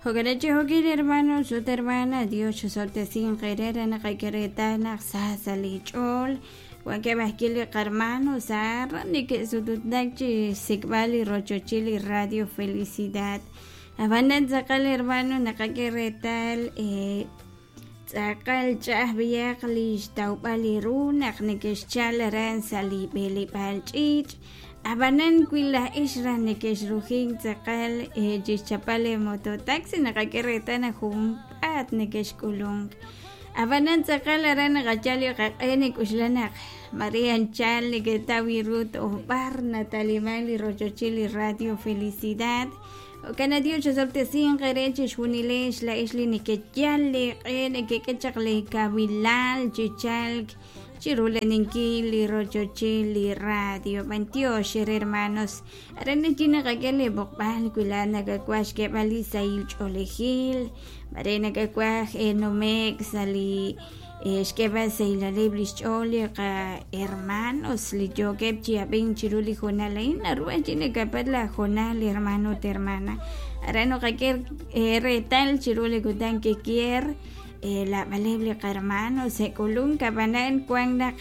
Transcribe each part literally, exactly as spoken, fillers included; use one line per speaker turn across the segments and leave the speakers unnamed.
Jo'kan chi jo'kin hermanos ut hermana Dios chusoltesin qere re naqak'e naq sa sa' li ch'ool wankeb' ajwi' li qarhermano sa neke'sututnak chi xsik'b'al li rochochil li Radio Felicidad ab'anan tz'aqal hermano naqak'e reetal eh, tz'aqal ch'a'aj b'iyaq li xtawb'al li ru naq neke'xchal aran sa' li b'eleb'aal ch'iich' ab'anan wi laj ix raj neke'xrujin tz'aqal eh, chixchapal li mototaxi naqak'e reetal naq junpaat neke'xk'ulunk ab'anan tz'aqal aran naqachal li qaq'e nik'uxla naq Maria anchal neketaw ru toj b'ar nataliman li rochochil li Radio Felicidad Jo'kan Dios chusoltesin qere chixjunilex la'ix li nekeyal li q'e nekek'e chaq li kawilal chichalk chirulaninkil li rochochil li radio b'antiox hermanos aran chi naqak'e li b'oqb'al wi la nakawaj xk'eb'al li sahil ch'oolejil mare nakawaj nume'k sa' li xk'eb'al sahilaleb' li xch'ool li qa hermanos li yookeb' chi ab'ink chiru li jonal a'in naru chi nakapat la jonal hermano ut hermana aran naqak'e reetal chiru li kutan kikier lab'aleb' li qarhermanos sek'ulunk ab'anan wan naq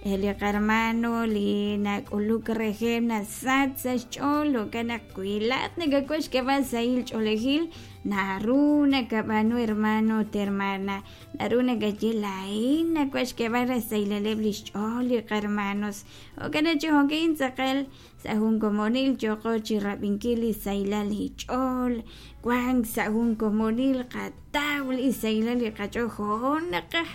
li qarhermano li nak'uluk rejeb' nasach sa' xch'ool jo'kan naq wi laat nakawaj xk'eb'al sahil ch'oolejil naru nakab'aanu hermano ut hermana naru nakaye la'in nawaj xk'eb'al rasahilaleb' li xch'ool li qarhermanos jo'kan chi jo'kin tz'aqal sa' jun komonil yoqo chi rab'inkil li sahilal li ch'ool wank sa' jun komonil qataw li sahilal li qach'ool jo' naqaj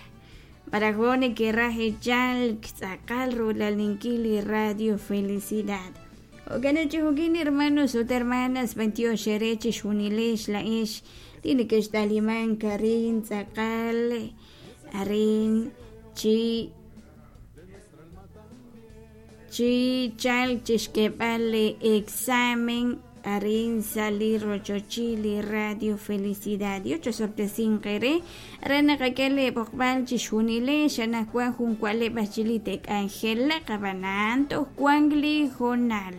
maraj jo' neke'raj echalk tz'aqal rulaninkil li Radio Felicidad jo'kan chi jo'kin hermanos ut hermanas b'antiox ere chixjunilex la'ex li neke'xtaliman arin tz'aqal arin chi chi chalk chixk'eb'al li examen arin sa' li rochochil li Radio Felicidad Dios chusoltesin qere re naqak'e li b'oqb'al chixjunilex anaqwan jun wa'leb' ajwi' li te'k'anjelaq ab'anan toj wank li jonal